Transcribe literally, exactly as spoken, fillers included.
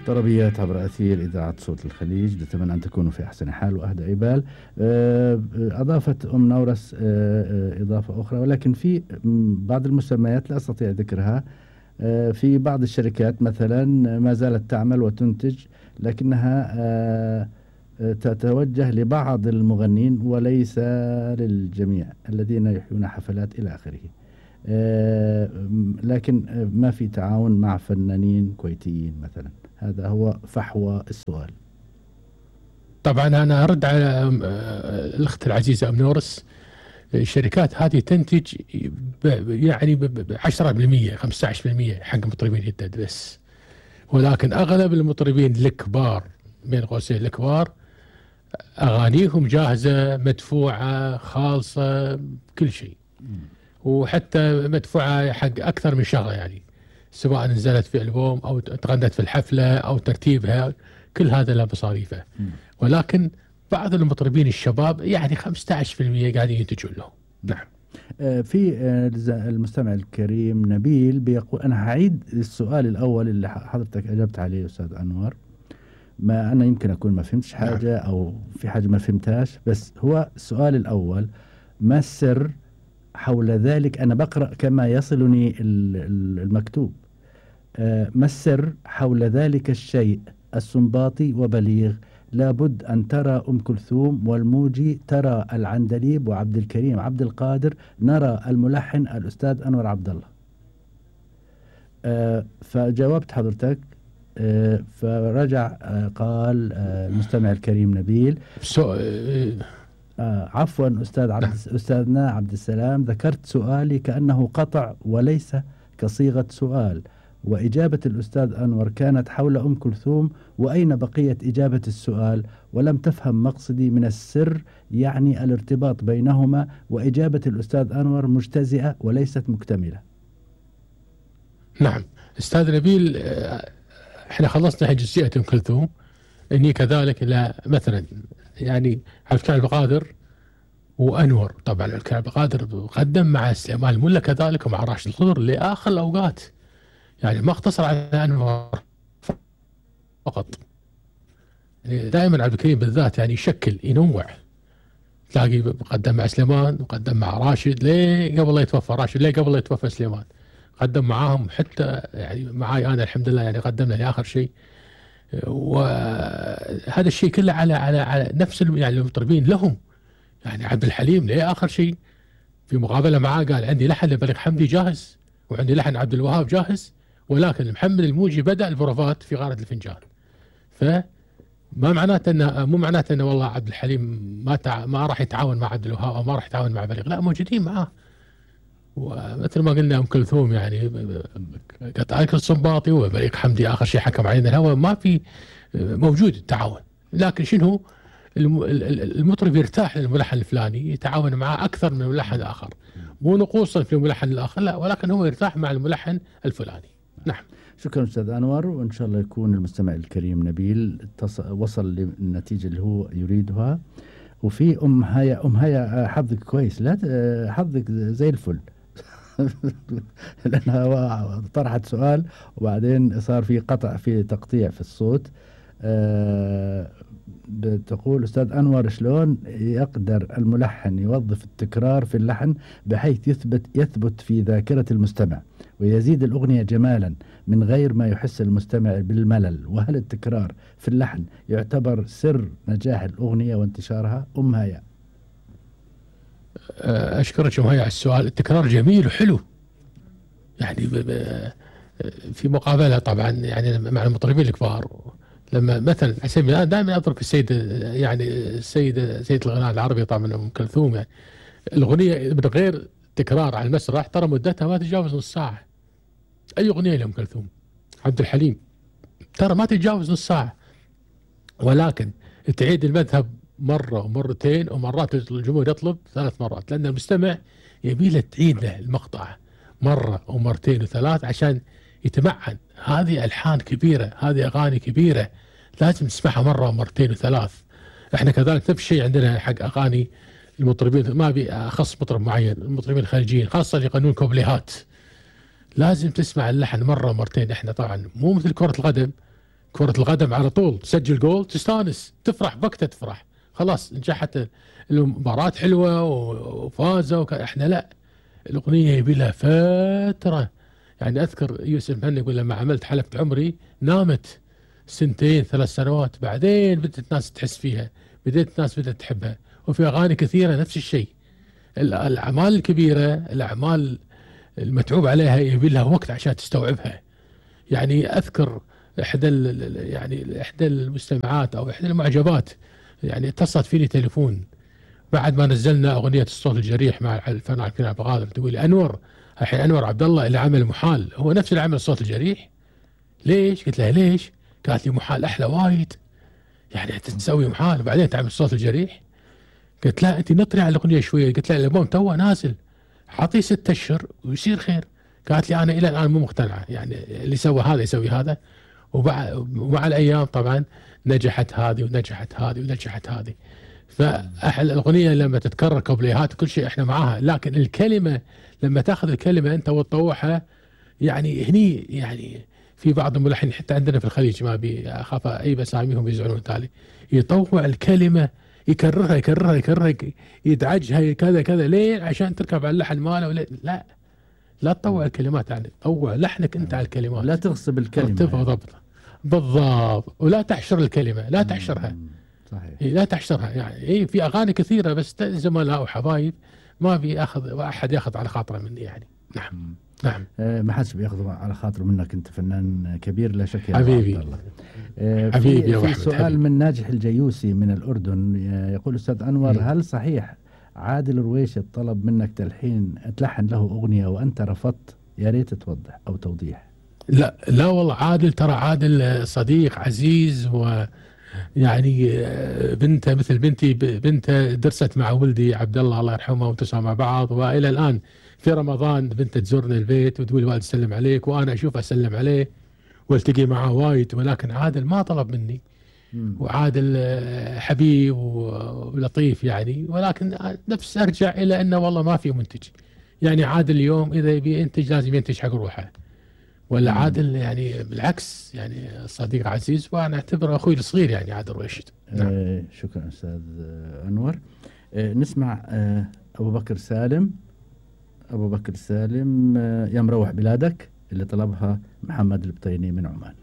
طربيات عبر أثير إذاعة صوت الخليج، نتمنى أن تكونوا في أحسن حال وأهدى بال. أضافت أم نورس إضافة أخرى، ولكن في بعض المسميات لا أستطيع ذكرها. في بعض الشركات مثلا ما زالت تعمل وتنتج، لكنها تتوجه لبعض المغنين وليس للجميع الذين يحيون حفلات إلى آخره. لكن ما في تعاون مع فنانين كويتيين مثلا. هذا هو فحوى السؤال. طبعا أنا أرد على الأخت العزيزة أم نورس. الشركات هذه تنتج يعني بعشرة بالمية خمسة عشر بالمية حق مطربين جدد بس، ولكن أغلب المطربين الكبار بين قوسين الكبار أغانيهم جاهزة مدفوعة خالصة كل شيء، وحتى مدفوعة حق أكثر من شغلة، يعني سواء نزلت في ألبوم أو تغنت في الحفلة أو ترتيبها، كل هذا له مصاريفه. ولكن بعض المطربين الشباب يعني خمسة عشر بالمية قاعدين ينتجون له. نعم. في المستمع الكريم نبيل بيقول، أنا هعيد السؤال الأول اللي حضرتك أجبت عليه أستاذ أنور، ما أنا يمكن أكون ما فهمتش حاجة أو في حاجة ما فهمتهاش، بس هو السؤال الأول: ما السر حول ذلك؟ أنا بقرأ كما يصلني المكتوب. ما السر حول ذلك الشيء السنباطي وبليغ؟ لابد أن ترى أم كلثوم والموجي، ترى العندليب وعبد الكريم عبد القادر، نرى الملحن الأستاذ أنور عبد الله. فجاوبت حضرتك، فرجع قال المستمع الكريم نبيل: آه عفوا أستاذ عبد أستاذنا عبد السلام، ذكرت سؤالي كأنه قطع وليس كصيغة سؤال، وإجابة الأستاذ أنور كانت حول أم كلثوم، وأين بقية إجابة السؤال؟ ولم تفهم مقصدي من السر، يعني الارتباط بينهما، وإجابة الأستاذ أنور مجتزئة وليست مكتملة. نعم أستاذ نبيل، احنا خلصنا جزئية أم كلثوم، إني كذلك لا مثلا يعني عبد الكريم عبد القادر وأنور. طبعا عبد الكريم عبد القادر قدم مع سليمان الملا كذلك ومع راشد الخضر لآخر الأوقات، يعني ما اقتصر على أنور فقط. يعني دائما عبد الكريم بالذات يعني يشكل ينوع، تلاقي قدم مع سليمان وقدم مع راشد ليه قبل لا يتوفى راشد، ليه قبل لا يتوفى سليمان، قدم معاهم حتى يعني معاي أنا الحمد لله يعني قدمنا لآخر شيء. وهذا الشيء كله على على على نفس يعني المطربين لهم، يعني عبد الحليم ليه آخر شيء في مقابلة معاه قال عندي لحن لبليغ حمدي جاهز وعندي لحن عبد الوهاب جاهز، ولكن محمد الموجي بدأ البروفات في غارة الفنجان. فما معناته انه مو معناته انه والله عبد الحليم ما تع... ما راح يتعاون مع عبد الوهاب او ما راح يتعاون مع بليغ، لا موجودين معاه. ومثل ما قلنا ام كلثوم يعني قطعة الصنباطي وبليغ حمدي اخر شيء حكم علينا الهوى، ما في موجود التعاون. لكن شنو المطرب يرتاح للملحن الفلاني يتعاون معه اكثر من الملحن الاخر، مو نقوصا في الملحن الاخر لا، ولكن هو يرتاح مع الملحن الفلاني. نعم. شكرا أستاذ أنور، وإن شاء الله يكون المستمع الكريم نبيل وصل للنتيجة اللي هو يريدها. وفي أم هيا، أم هيا حظك كويس، لا حظك زي الفل لأنها طرحت سؤال وبعدين صار في قطع في تقطيع في الصوت. أه بتقول: أستاذ أنور، شلون يقدر الملحن يوظف التكرار في اللحن بحيث يثبت يثبت في ذاكرة المستمع ويزيد الأغنية جمالا من غير ما يحس المستمع بالملل؟ وهل التكرار في اللحن يعتبر سر نجاح الأغنية وانتشارها؟ أم هيا. أشكرك أم هيا على السؤال. التكرار جميل وحلو، يعني في مقابلة طبعا يعني مع المطربين الكبار، لما مثلا على سبيل المثال دائما اضرب السيده يعني السيده سيده الغناء العربي طبعا ام كلثوم، يعني الاغنيه من غير تكرار على المسرح ترى مدتها ما تتجاوز نص ساعه. اي اغنيه لام كلثوم، عبد الحليم ترى ما تتجاوز نص ساعه، ولكن تعيد المذهب مره ومرتين ومرات الجمهور يطلب ثلاث مرات، لان المستمع يبي له تعيد له المقطع مره ومرتين وثلاث عشان يتمعن. هذه ألحان كبيرة، هذه أغاني كبيرة لازم تسمعها مرة ومرتين وثلاث. احنا كذلك نفس الشيء عندنا حق أغاني المطربين، ما أبي أخص مطرب معين، المطربين الخارجيين خاصة اللي يغنون كوبليهات لازم تسمع اللحن مرة ومرتين. احنا طبعا مو مثل كرة القدم كرة القدم على طول تسجل جول تستانس تفرح بوقتها تفرح خلاص نجحت المباراة حلوة وفازوا. احنا لا، الأغنية يبي لها فترة. يعني أذكر يوسف مهنا يقول لما عملت حلقة عمري نامت سنتين ثلاث سنوات، بعدين بدأت الناس تحس فيها، بدأت الناس بدأت تحبها. وفي أغاني كثيرة نفس الشيء. الأعمال الكبيرة، الأعمال المتعوب عليها يبي لها وقت عشان تستوعبها. يعني أذكر إحدى يعني إحدى المستمعات أو إحدى المعجبات يعني اتصلت فيني تليفون بعد ما نزلنا أغنية الصوت الجريح مع الفنان عبد الكريم عبد القادر، تقول لي أنور الحين أنور عبد الله اللي عمل محال هو نفس اللي عمل الصوت الجريح؟ ليش؟ قلت لها ليش؟ قالت لي محال أحلى وايد، يعني أنت تسوي محال وبعدين تعمل الصوت الجريح؟ قلت لا أنت نطري على الأغنية شوية. قلت لها الألبوم توه نازل، حاطيه ست أشهر ويصير خير. قالت لي أنا إلى الآن مو مقتنعة، يعني اللي سوى هذا يسوي هذا. ومع الأيام طبعا نجحت هذه ونجحت هذه ونجحت هذه. فأحلى الأغنية لما تتكرر كوبليهات كل شيء إحنا معاها، لكن الكلمة لما تأخذ الكلمة أنت وتطوعها، يعني هني يعني في بعض الملحنين حتى عندنا في الخليج ما بي أخاف أي بساميهم يزعلون تالي، يطوع الكلمة يكررها يكررها يكررها يدعجها كذا كذا ليه؟ عشان تركب على اللحن ماله ولا لا لا تطوع الكلمات، يعني طوع لحنك أنت على الكلمات، لا تغصب الكلمة تبغى ضبطها بالضبط، ولا تحشر الكلمة، لا تحشرها. صحيح. لا تحشرها. يعني إيه في أغاني كثيرة بس زملاء وحبايب ما بياخذ أحد ياخذ على خاطره مني يعني. نعم مم. نعم. آه ما حدش بياخذ على خاطره منك، أنت فنان كبير لا شك يا حبيبي. آه حبيبي يا في, في أحمد سؤال حبيبي. من ناجح الجيوسي من الأردن يقول أستاذ أنور، مم. هل صحيح عادل رويشة طلب منك تلحين تلحن له أغنية وأنت رفضت؟ يا ريت توضح أو توضيح. لا لا والله عادل، ترى عادل صديق عزيز، ويعني بنته مثل بنتي، بنته درست مع ولدي عبد الله الله يرحمه وانتسوا مع بعض، والى الان في رمضان بنته تزورني البيت وتقول والد سلم عليك، وانا اشوف اسلم عليه والتقي معه وايد. ولكن عادل ما طلب مني، وعادل حبيب ولطيف يعني، ولكن نفس ارجع الى انه والله ما في منتج. يعني عادل اليوم اذا يبي ينتج لازم ينتج حق روحه، ولا عادل يعني بالعكس يعني صديق عزيز، وانا اعتبره اخوي الصغير يعني عادل رويشد. نعم. آه شكرا استاذ انور. آه نسمع آه ابو بكر سالم. ابو بكر سالم آه يا مروح بلادك اللي طلبها محمد البطيني من عمان.